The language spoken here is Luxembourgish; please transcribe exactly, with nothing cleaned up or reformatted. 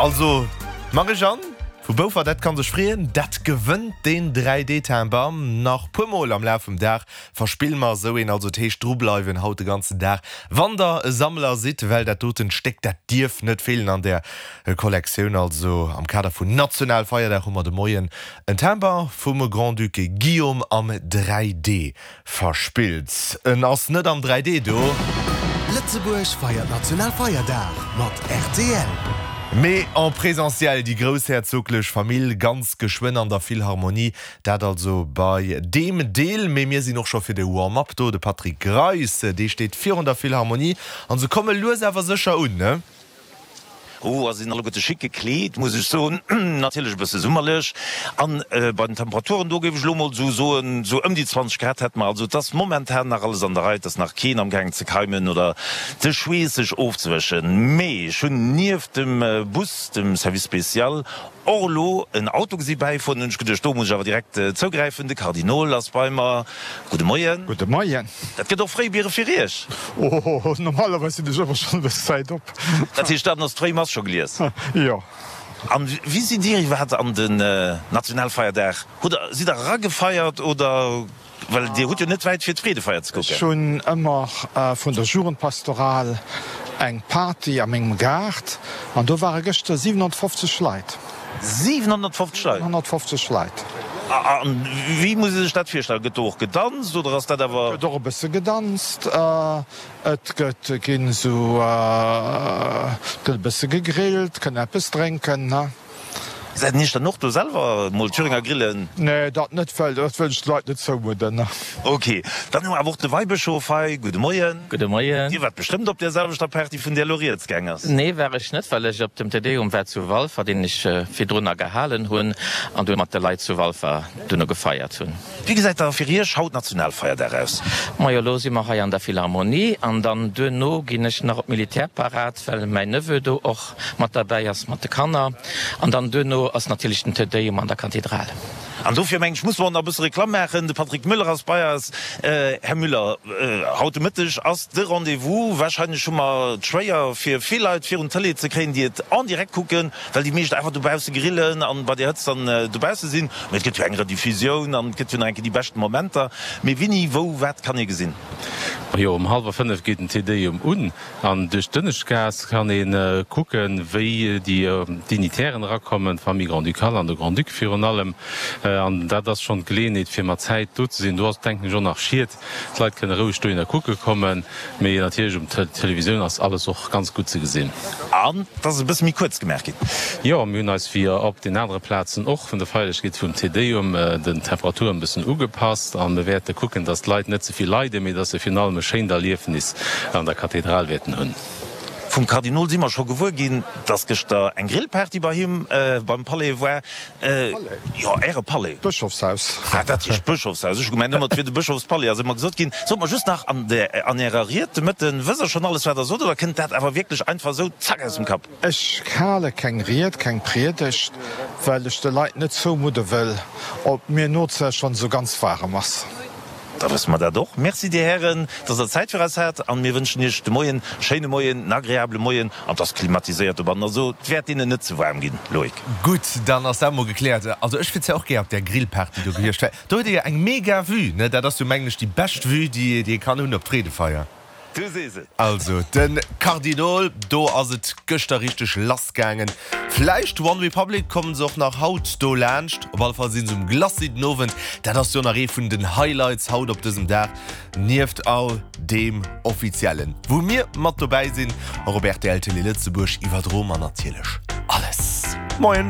Also, d'Marie-Jeanne vu Boufer, dat kann sech freeën, dat gewënnt deen dräi D Timber. Nach puer mol am Laf vum Dag verspille mer esou een, also et heescht drubleiwen haut de ganzen Dag, wann der e Sammler sidd, well dat doten Stéck, dat dierf net feelen an där Kollektioun. Also am Kader vun Nationalfeierdag hu mer de Moien en Timber vum Grand-Duc Guillaume am dräi D verspillt. En ass net am dräi D do. Lëtzebuerg feiert Nationalfeierdag mat rtl. Mee en présentiel, déi groussherzoglech Famill ganz geschwënn an der Philharmonie, dat also bei deem Deel. Mee mir sinn och scho fir de Warm-up do, de Patrick Greis, dee steet virun der Philharmonie an se komme lues awer sécher un, ne? Oh, a sinn alleguerte schick gekleet, muss ech soen. Natierlech e bësse summerlech. An bei den Temperaturen, do géif ech elo mol esou soen, esou ëm déi zwanzeg Grad hätte mer. Also et ass momentan nach alles an der Rei, et ass nach keen amgaangen ze keimen oder de Schweess sech ofzewëschen. Mee ech hunn nieft dem Bus, dem Service spécial, och elo en Auto gesi bäifueren. Hunn ech geduecht, do muss ech awer direkt zougräifen. De Kardinol ass bei mer. Gudde Moien. Gudde Moien. Dat gëtt och fréi Biere fir Iech. Oh, normalerweis sinn ech ëmmer schonn e bësse Zäit op. Dat heescht, dann ass d'fréi Mass scho gelies? Jo. An wéi sidd Dir iwwerhaapt an den Nationalfeierdag? Hutt Der, sidd Der eragefeiert oder? Well Dir hutt jo net wäit fir d'Freedefeier ze kucken. Ech hunn ëmmer vun der Jugendpastoral eng Party a mengem Gaart an do ware gëschter siwenhonnertfofzeg Leit. siwenhonnertfofzeg Leit? siwenhonnertfofzeg Leit. A wéi muss ee sech dat virstellen? Gëtt do och gedanzt oder ass dat awer. Et gëtt och e bësse gedanzt. Et gëtt ginn esou, et gëtt e bësse gegrillt, kënn eppes drénken. Säit Iech dann och do selwer mol Thüringer grillen? Nee, dat net, well dat wëll ech de Leit net zoumudden. Ok, dann hu mer awer och de Weibëschof hei. Gudde Moien. Gudde Moien. Dir waart bestëmmt op där selwechter Party, vun där elo rieds gaang ass? Nee, war ech net, well ech op dem Te Deum war zu Walfer, deen ech virdrunner gehalen hunn an dunn mat de Leit zu Walfer duerno gefeiert hunn. Wéi gesäit da fir Iech haut Nationalfeierdag aus? Majo, elo si mer hei an der Philharmonie an dann duerno ginn ech nach op d'Militärparad, well mäin Neveu do och mat derbäi ass mat de Kanner an dann duerno ass natierlech den Te Deum an der Kathedral. An dofir mengen ech, muss mer och nach e bësse Reklamm maachen. De Patrick Müller ass bei eis. Här Müller, haut de Mëtteg ass de Rendez-vous. Wahrscheinlech hu mer et schwéier fir vill Leit virun d'Tëlee ze kréien, déi et en direct kucken, well déi meescht einfach dobausse grillen an bei där Hëtzt dann dobausse sinn. Mee et gëtt jo eng Rediffusioun an et gëtt jo nach eng Kéier déi beschten Momenter. Mee wéini, wou, wat kann ee gesinn? Jo, um hallwer fënnef geet den Te Deum un an duerch d'Ënneschtgaass kann ee kucken, wéi déi Dignitären erakommen, d'Famille Grand-Ducale an de Grand-Duc virun allem. An dat ass schonn d'Geleeënheet, fir mat Zäit do ze sinn. Do ass, denken ech, och nach Schied. D'Leit kënne roueg dohinner kucke kommen. Mee natierlech um Televisioun ass alles och ganz gutt ze gesinn. An et ass e bësse méi kuerz gemaach ginn. Jo, mir hunn eis wéi op den anere Plazen och vun der Feierlechkeet vum Te Deum den Temperaturen e bëssen ugepasst. A mir wäerte kucken, dass d'Leit net ze vill leiden, mee dass se virun allem e schéint Erliefnis an der Kathedral wäerten hunn. Vum Kardinol si mer scho gewuer ginn, dass gëschter eng Grillparty bei him beim Palais war. Jo, Äre Palais. D'Bëschofshaus. Ah, dat heescht Bëschofshaus. Ech hu gemengt ëmmer, et wier de Bëschofspalais, ass ëmmer gesot ginn. Sot mer just nach, an der, an Ärer Ried de Mëtten, wësst Der schonn alles, wat Der sot, oder kënnt dat awer wierklech einfach esou, zack, aus dem Kapp? Ech hale keng Ried, keng Priedegt, well ech de Leit net zoumudde wëll, ob mir nozäch schonn esou ganz waarem ass. Da wësse mer dat och. Merci, Dir Hären, dass Der Zäit fir eis hat. An mir wënschen Iech de Moien e schéine Moien, en agreabele Moien. An et ass klimatiséiert dobannen, also et wäert deenen net ze waarm ginn, Loïc. Gutt, dann ass dat mol gekläert. Also ech wier zwar och gär op där Grillparty do gewiescht, well do huet ee jo eng mega Vue, ne? Dat ass jo, mengen ech, déi bescht Vue, déi ee kann hunn op d'Freedefeier. Du sees et. Also de Kardinol, do ass et gëschter richteg lass gaangen. Vläicht One Republic kommen se och nach haut do laanscht. Op alle Fall sinn se um Glacis den Owend. Dat ass jo nach ee vun den Highlights haut op dësem Dag, nieft all deem Offiziellen, wou mir mat dobäi sinn. Och op rtl Télé Lëtzebuerg iwwerdroe mer natierlech alles. Moien.